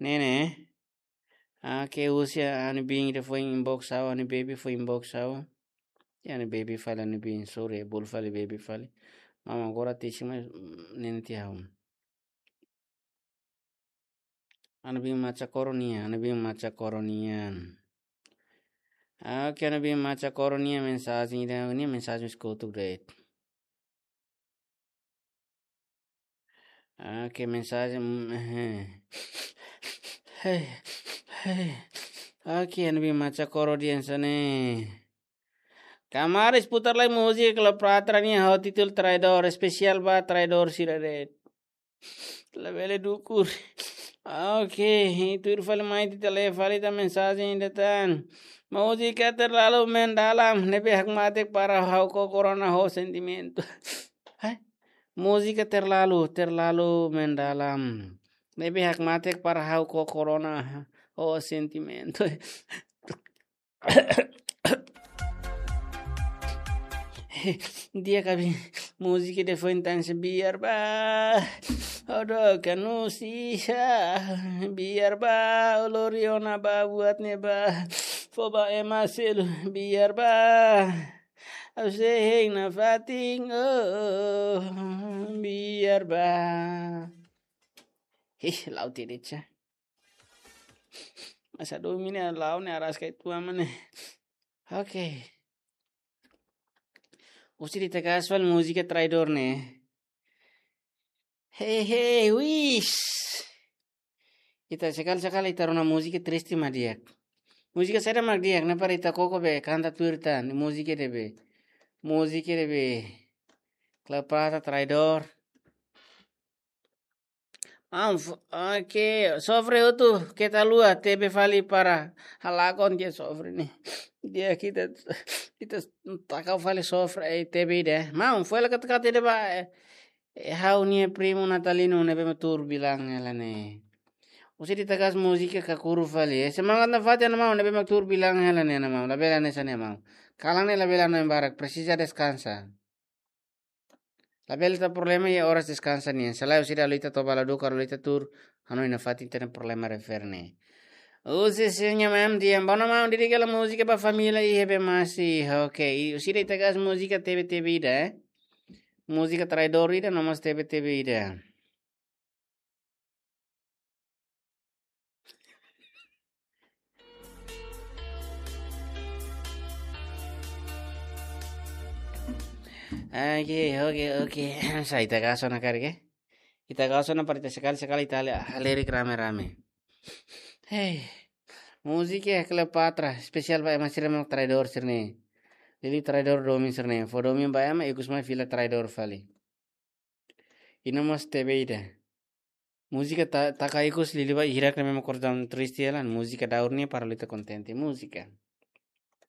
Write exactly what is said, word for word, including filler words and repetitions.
Ne'e ne'e. Ah, ke usia ha'u-nia biin ida foin inbox ha'u, ha'u-nia baby foin inbox ha'u. Ya, ha'u-nia baby fali, ha'u-nia biin, sorry, bolu fali baby fali. Maun agora tisi mai, mm, ne'e tiha ha'u. Ha'u-nia biin Macha Koro nian, ha'u-nia biin Macha Koro nian. Ah, ke ha'u-nia biin Macha Koro nian mensajen ida, ne'e mensajen eskutu de'it. Ah, ke mensajen, mm, eh. Hei, hei. Ah, ke ha'u-nia biin Macha Koro nian hanesan ne'e. Kamaris putar lai múzika Cleopatra nian ho títulu Traidór, espesiál ba traidór sira de'it. Labele dukur. Ah, oke, tuir fali mai ita lee fali ita mensajen ida tan. Múzika terlalu mendalam, ne'ebé hakmatek para ha'u ho korona ho sentimentu. Hai? Múzika terlalu, terlalu mendalam. Ne'ebé hakmatek para ha'u ho korona ho sentimentu. Di'ak, ha'u-nia biin múzika ida foin tan se biar ba. Odo kanusia. Biar ba, o lori ona ba buat ne'ebá. Fó ba ema selu, biar ba. Ha'u sei hein nafatin, oh, biar ba. Ih, la'o tirica. Masa domin ne'e la'o ne'e araska itu ama ne'e. Oke. Husi ita karik fali múzika Traidór ne'e. Hei, hei, wis. Ita sekali-sekali ita rona múzika triste mak di'ak. Múzika saida mak di'ak, ne'e para ita koko be, kanta tuir tan, múzika ida be. Múzika ida be. Cleopatra Traidór. Ah, f-, oke, sofre hotu, keta haluha, tebe fali para halakon ke sofre ne'e. Di'ak, ita, ita taka fali sofre, eh, tebe ida. Maun, foin la kata-kata ida ba, eh, eh, ha'u-nia primu Natalino ne'ebé mak tuur bilang hela ne'e. Husi ita karik múzika Kakuru fali. Eh, semangat nafatin maun, ne'ebé mak tuur bilang hela ne'e maun. Labele hanesan ne'e maun. Kalan ne'e labele hanoin barak, presiza deskansa. Labele tau problema iha oras deskansa nian. Se lae husi ida halo ita toba la dukur, halo ita tuur, hanoin nafatin, ita-nia problema refere ne'e. Husi sira-nia maun dehan, bom maun, dedika hela múzika ba família iha be masi. Oke, i husi ida ita karik múzika tebe-tebe ida, eh. Múzika Traidór ida, no mós tebe-tebe ida. Oke, oke, oke. Sa ita karik ona karik, eh. Ita karik ona para ita sekali-sekali ita hale-, halerik rame-rame. Hei. Múzika Cleopatra, espesiál ba ema sira mak traidór sira-ne'e. Liuliu traidór domin sira-ne'e. Fó domin ba ema, ikus mai fila traidór fali. I no mós tebe ida. Múzika ta-, taka ikus liuliu ba hirak ne'ebé mak kordon triste hela, múzika daur ne'e para halo ita kontente. Múzika.